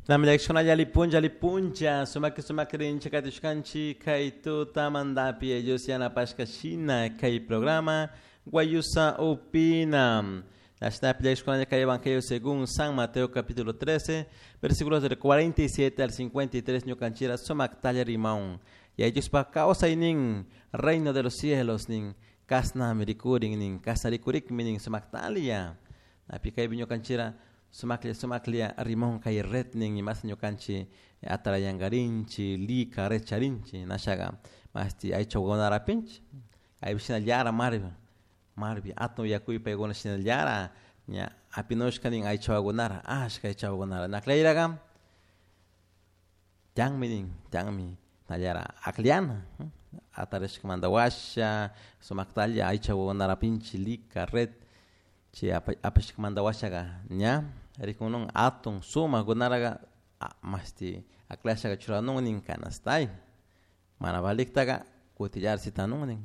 Namlakshunalla lipuncha lipuncha sumaki sumakrincha katishkanchi kay tutamantapi ellos yanapashka shina kay programa Guayusa Opina. Kay Evangelio según San Mateo capítulo 13, versículos del 47 al 53, ñukanchira sumaktalla rimón. Y ellos pa nin reino de los cielos nin kasna mirikurin nin kasna rikurikmi nin sumaktalia. Napi kay ñukanchira sumaklia sumaklia rimón kay red nin imas ñukanchi atarayangarinchi lika recharinchi nashaga masti aychawakunarapinchi aypi shinallara marbi marbi atun yakuy paykuna shinallara ña apinushka nin aychawakunara ashka aychawakunara naklayraga tiyanmi nin tiyanmi nallara akllana atarishkamanta washa sumaktalla aychawakunarapinchi lika red chay apashkamanta washaga ña rikunun atun sumakkunaraga mashti akllashaka churanun nin canastay mana valiktaka kutillara sitanun nin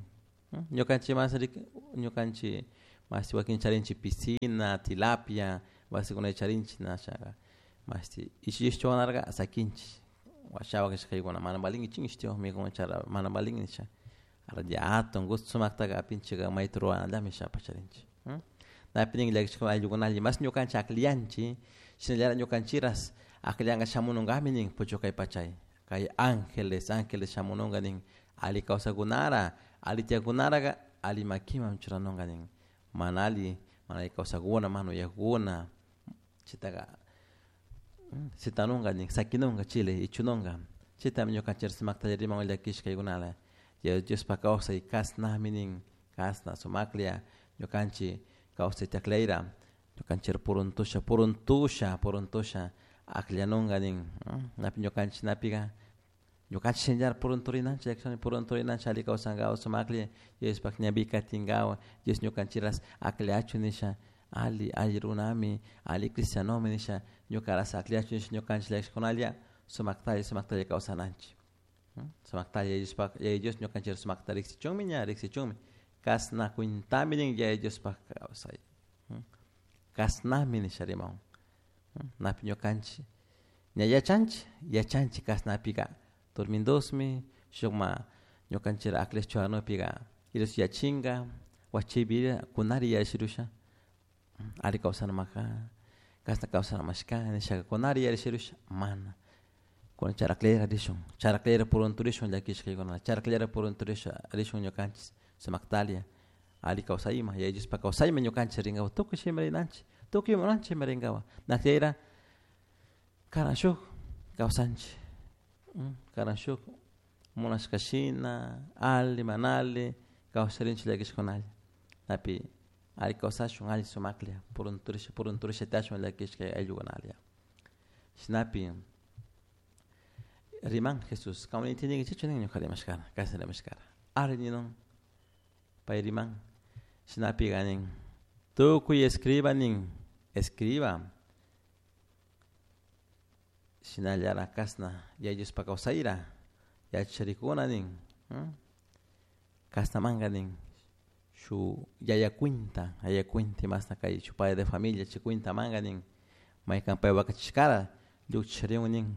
ñukanchik mas ñukanchik mashti wakin charinchik piscina, tilapia, wasikunata charinchik nashaga mashti ishi ishtiwanaraka sakinchik washawa kashkaykuna mana valinki chin ishtiwan mikuna chara mana valin nisha atun gusto sumaktaka apinchika mayta ruranallami shapash charinchik. Napi nin llakishka ayllukunalla mas ñukanchik akllanchik shinallara ñukanchikras akllanka shamununkami nin puchukay pachay kay ángeles ángeles shamununka nin alli kawsakunara alli tiyakunaraka alli makiman churanunka nin mana alli mana alli kawsakuna mana uyakuna chaytaka sitanunka nin sakinunka chile ichununka chaytami ñukanchik sumakta riman llakishkaykunala Diospak kawsay kasnami nin kasna sumaklla ñukanchik kawsayta aklayra ñukanchik puruntusha puruntusha puruntusha akllanunka nin napi ñukanchik napika ñukanchik shinallara purunturinanchik purunturinanchik alli kawsankapak sumaklla Diospak ñanpi katinkapak Dios ñukanchikras akllachun nisha alli alli runami alli cristianomi nisha ñukaras akllachun nisha ñukanchik llakishkunalla sumaktalla sumaktalla kawsananchik sumaktalla Diospak Yaya Dios ñukanchik sumakta riksichunmi ña riksichunmi kasna cuentami nin Yaya Diospak kawsay kasnami nisha rimawun napi ñukanchik ña yachanchik yachanchik kasnapika turmindosmi shukma ñukanchik akllash churanupika Dios yachinka wachaypi kunari yachirusha alli kawsanamaka kasna kawsanamashka nishaka kunari yarishirusha mana kunan charaklera rishun charaklera purunturishun llakishkaykuna charaklera purunturisha rishun ñukanchik sumaktalia alli kawsayman Yaya Diospak kawsayman ñukanchik rinkapak tukuy chayman rinanchik tukuy munanchik chayman rinkapak nakayra karan shuk kawsanchik karan shuk munashka shina alli mana alli kawsarinchik llakishkunalla napi alli kawsashun alli sumaklla purunturisha purunturisha tiyashun llakishka ayllukunalla shinapi riman Jesús kaman entendinkichikchu nin ñuka rimashkara kashna rimashkara ari ninun pay riman shinapika nin tukuy escriba nin escriba shinallara kashna Yaya Diospak kawsayra yacharikuna nin kashnamanka nin shuk yaya cuenta yaya cuenta imashna kay shuk padre de familia chay cuentamanka nin maykan pay wakachishkara llukchishariun nin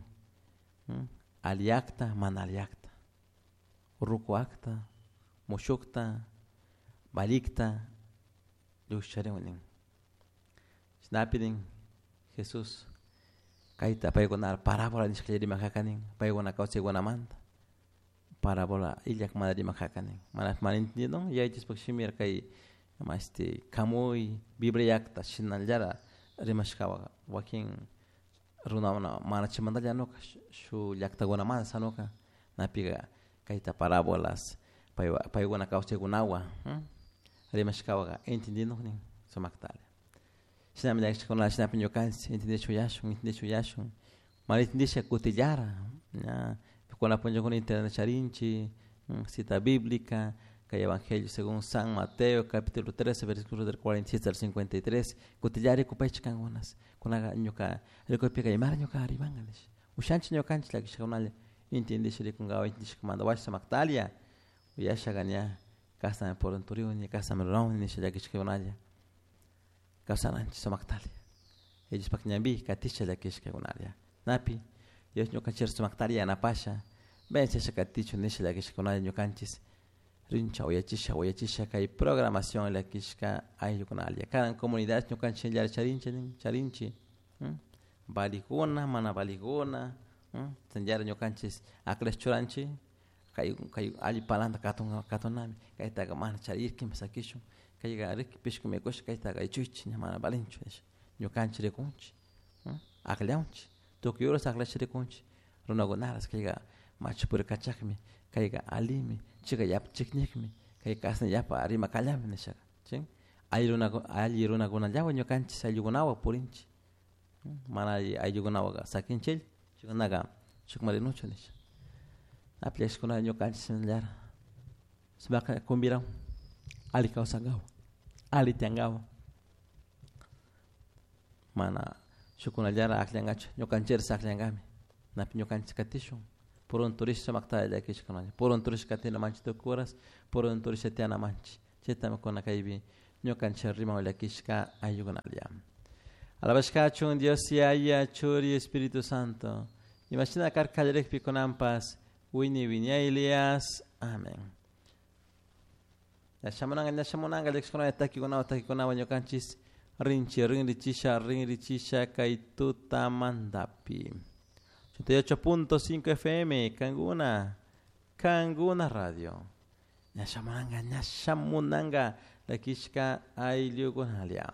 alli acta mana alli acta ruku acta mushukta valikta llukshishariun nin chashnapi nin Jesús kayta paykuna parábola nishkalla rimakaka nin paykuna kawsaykunamanta parábola illak mana rimakaka nin mana mana entendidon Yaya Diospak shimira kay mashti kamuy Biblia llakta shinallara rimashkawan wakin runakuna mana chaymantalla anuka shuk llaktakunamanta shanuka napika kayta parábolas pay paykuna kawsaykunawan rimashkawaka entendinun nin sumaktalla shinami llakishkuna shinapi ñukanchik entendishpa uyashun entendishpa uyashun mana entendisha kutillara ña kuna punllakuna internet charinchik cita bíblica kay evangelio según San Mateo capítulo 13 versículos del 47 al 53 kutillara rikupaychik kankunas kunaka ñuka rikupika imara ñuka rimanka nish ushanchik ñukanchik llakishkakunalla entendisha rikunkapak entendishkamanta washa sumaktalla uyashaka ña kashnami purunturikuni kashnami rurawni nisha llakishkakunalla kawsananchik sumaktalla Diospak ñanpi katisha llakishkakunalla. Napi Dios ñukanchik sumaktari yanapasha vencesha katichun nisha llakishkunalla ñukanchis rincha uyachisha uyachisha kay programación llakishka ayllukunalla kanan comunidad ñukanchik charinchi charinchi valijuna mana valijuna shinallara ñukanchik aklash churanchik kay kay alli palanta katun katunami kaytaka mana charirkin sakishun kayka riki pishku mikushka kaytaka ichuychik ña mana valinchu nisha ñukanchik rikunchik akllamunchik tukuy horas aklash rikunchik runakunaras kayka machu purikachakmi kayka allimi chayka yapa chiknikmi kay kashna yapa rimakallami nishaka chin alli runa alli runakunallawan ñukanchik ayllukunawan purinchik mana alli ayllukunawanka sakinchik chaykunaka shukman rinuchu nisha apllayshkuna ñukanchik shinallara sumakta kumbirawan alli kawsankapak alli tiyankapak mana shukkunallara akllankachu ñukanchikra akllankami napi ñukanchik katishun purunturishpa sumakta llakishkunalla purunturishpa katina manchik tukuy horas purunturishpa tiyana manchik chaytami kuna kaypi ñukanchik riman llakishka ayllukunalla. Alabashkachun Dios Yaya, Churi, Espíritu Santo. Imashina karka kallarikpi kunanpas wiñay wiñaylias. Amén. Ña shamunanka ña shamunanka llakishkunalla takikunawan takikunawan ñukanchis rinchi rinrichisha rinrichisha kay tutamantapi. 88.5 FM, Kanguna, Kanguna Radio. Ña shamunanka, ña shamunanka, llakishka ayllukunalla.